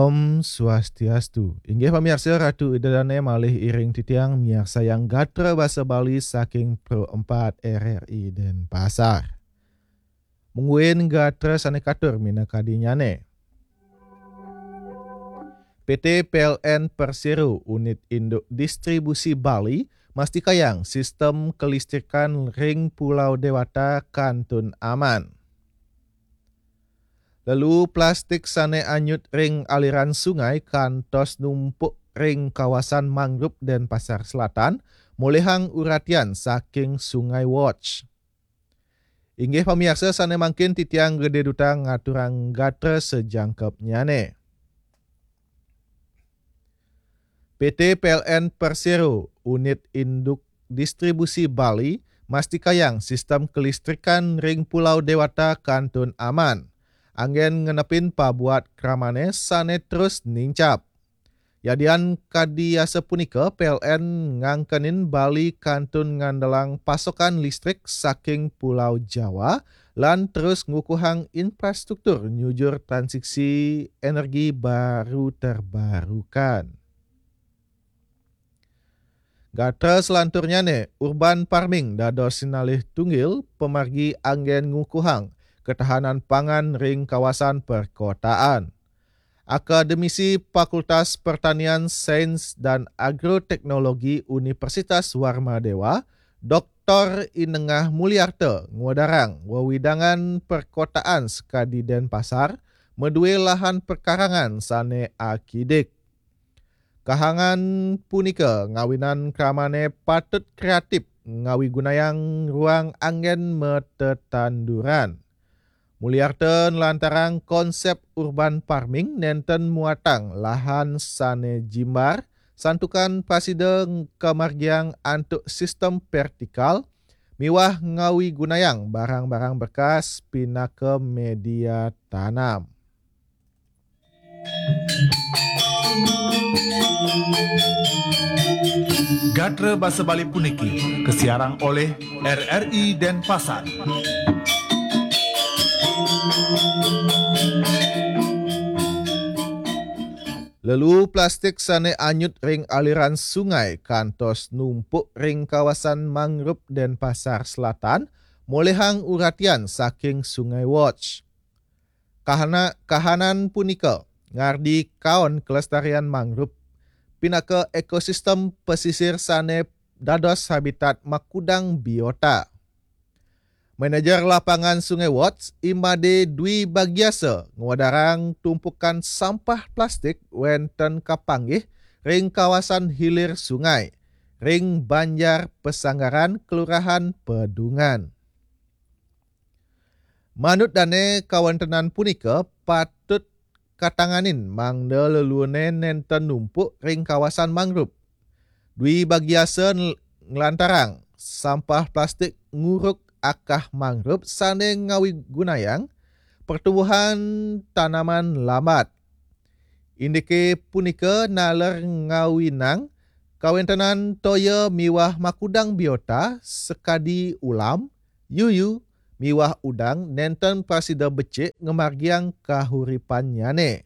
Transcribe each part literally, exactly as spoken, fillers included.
Om Swastiastu. Inggih pamiarsa, Ratu Ida Dane malih iring titiang miarsayang gatra basa Bali saking Pro empat R R I Denpasar. Mungguing gatra sane katur minakadinyane. P T P L N Persero Unit Induk Distribusi Bali mastikayang sistem kelistrikan ring Pulau Dewata kantun aman. Lelu plastik sane anyut ring aliran sungai kantos numpuk ring kawasan mangrove Denpasar Selatan, molihang uratian saking Sungai Watch. Inggih pamiarsa, sane mangkin titiang Gede Duta ngaturang gatra sajangkepnyane. P T P L N Persero Unit Induk Distribusi Bali mastikayang sistem kelistrikan ring Pulau Dewata kantun aman, anggen ngenepin pabuat kramane sane terus nincap. Yadian kadi asapunika, P L N ngangkenin Bali kantun ngandelang pasokan listrik saking Pulau Jawa lan terus ngukuhang infrastruktur nyujur transisi energi baru terbarukan. Gatra selanturnyane, urban farming dados sinalih tunggil pamargi anggen ngukuhang ketahanan pangan ring kawasan perkotaan. Akademisi Fakultas Pertanian, Sains, dan Agroteknologi Universitas Warmadewa, Doktor I Nengah Mulyarta, ngwedarang wewidangan perkotaan sakadi Denpasar madue lahan perkarangan sane akidik. Kahangan punika ngawinan kramane patut kreatif ngawigunayang ruang anggen matetanduran. Mulyarta nlantarang konsep urban farming nenten muatang lahan sane jimbar, santukan prasida kamargiang antuk sistem vertikal miwah ngawigunayang barang-barang bekas pinaka media tanam. Gatra basa Bali puniki kasiarang olih R R I Denpasar. Lelu plastik sane anyut ring aliran sungai kantos numpuk ring kawasan mangrove Denpasar Selatan, molihang uratian saking Sungai Watch. Kahana-, kahanan punika ngardi kaon kelestarian mangrove pinaka ekosistem pesisir sane dados habitat makudang biota. Manajer Lapangan Sungai Watch, I Made Dwi Bagiasa, ngwedarang tumpukan sampah plastik wenten kapanggih ring kawasan hilir sungai, ring Banjar Pesanggaran, Kelurahan Pedungan. Manut dane, kawentenan punika patut katanganin mangda leluhune nenten numpuk ring kawasan mangrove. Dwi Bagiasa ngl-, nglantarang sampah plastik nguruk akah mangrove sane ngawigunayang pertumbuhan tanaman lambat. Indike punika naler ngawinang kawentenan toya miwah makudang biota sakadi ulam, yuyu, miwah udang nenten prasida becik ngamargiang kahuripannyane.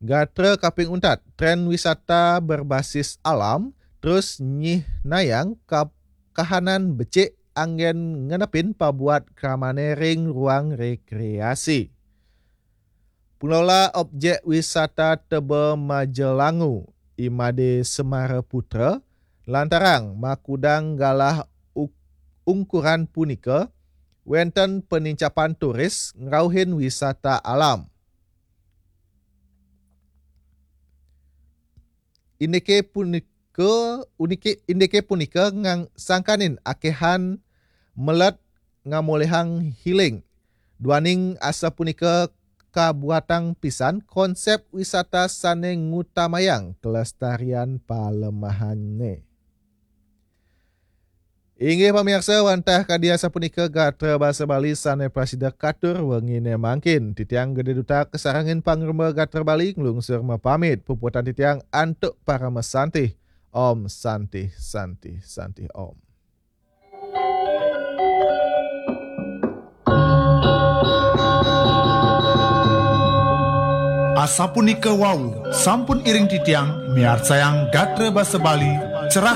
Gatra kaping untat, tren wisata berbasis alam terus nyihnayang ka-, kahanan becik anggen ngenepin pabuat kramane ring ruang rekreasi. Pengelola objek wisata Teba Majelangu, I Made Semara Putra, lantarang makudang galah u-, ungkuran punika, wenten penincapan turis ngrauhin wisata alam. Indike punika, unike-, indike punika ngang-, sangkanin akehan melet ngamolihang healing. Duaning asapunika kabuatang pisan konsep wisata sane ngutamayang kelestarian palemahane. Inggih pamiarsa, wantah kadi asapunika gatra basa Bali sane prasida katur wengine mangkin. Titiang Gede Duta kasarengin pangremba gatra Bali nglungsur mapamit. Puputang titiang antuk parama santih. Om Santih, Santih, Santih Om. Asapunika wau, sampun iring titiang miarsayang gatra basa Bali, cerah